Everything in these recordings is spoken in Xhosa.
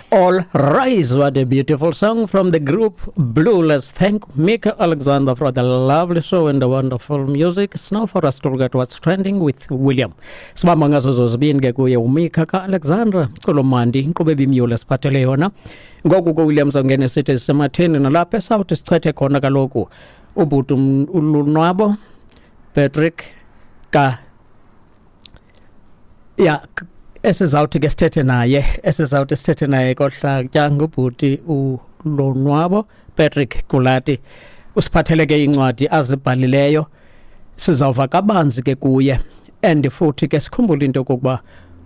All rise. What a beautiful song from the group Blue. Let's thank Mika Alexander for the lovely show and the wonderful music. It's now for us to look at what's trending with William. Sibamba ngazo zozibini ke kuye uMika ka-Alexandra Mculo mandi inkqubo ebimyule siphathele yona. Ngoku ke William songene sithi sisematheni nalapha esawuthi sichethe khona kaloku ubhuti uLonwabo Patrick ka ya esizawuthi ke sithethe naye esizawuthi sithethe naye kohlatya ngubhuti uLonwabo Patrick Kulati. Usiphathele ke incwadi azibhalileyo, sizawuva kabanzi ke kuye, and futhi ke sikhumbule into yokokuba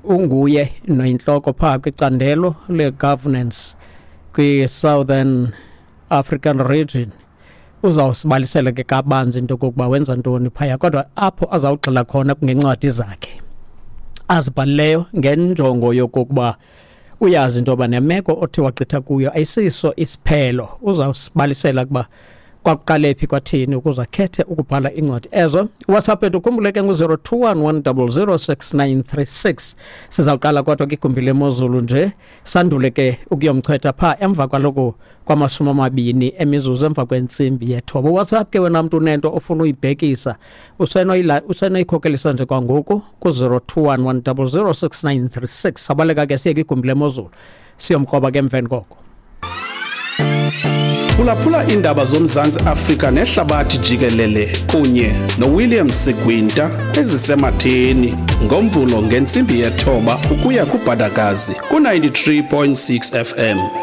unguye noyintloko phaa kwicandelo le-governance kwi-Southern African Region. Uzawusibalisela ke kabanzi into yokokuba wenza ntoni phaya, kodwa apho azawugxila khona kungencwadi zakhe azibhalileyo ngenjongo yokokuba uyazi into yoba nemeko othi wagqitha kuyo ayisiso isiphelo. Uzawusibalisela ukuba kwakuqale phi, kwathini ukuze akhethe ukubhala iincwadi ezo. WhatsApp ethu ukhumbule ke ngu-021 100 6936. Sizawuqala kodwa kwigumbi lemozulu nje, sandule ke ukuyomchetha phaa emva kwaloko kwama-20 emizuzu emva kwentsimbi yethoba. WhatsApp ke wena mntu unento ofuna uyibhekisa, usenoyikhokelisa nje kwangoku ku-021 100 6936. Sabaleka ke siye kwigumbi lemozulu, siyomkroba ke emveni koko. Phulaphula iindaba zoMzantsi Afrika nehlabathi jikelele kunye noWilliam Sigwinta ezisematheni ngoMvulo ngentsimbi yethoba ukuya kubhadakazi ku-93.6 FM.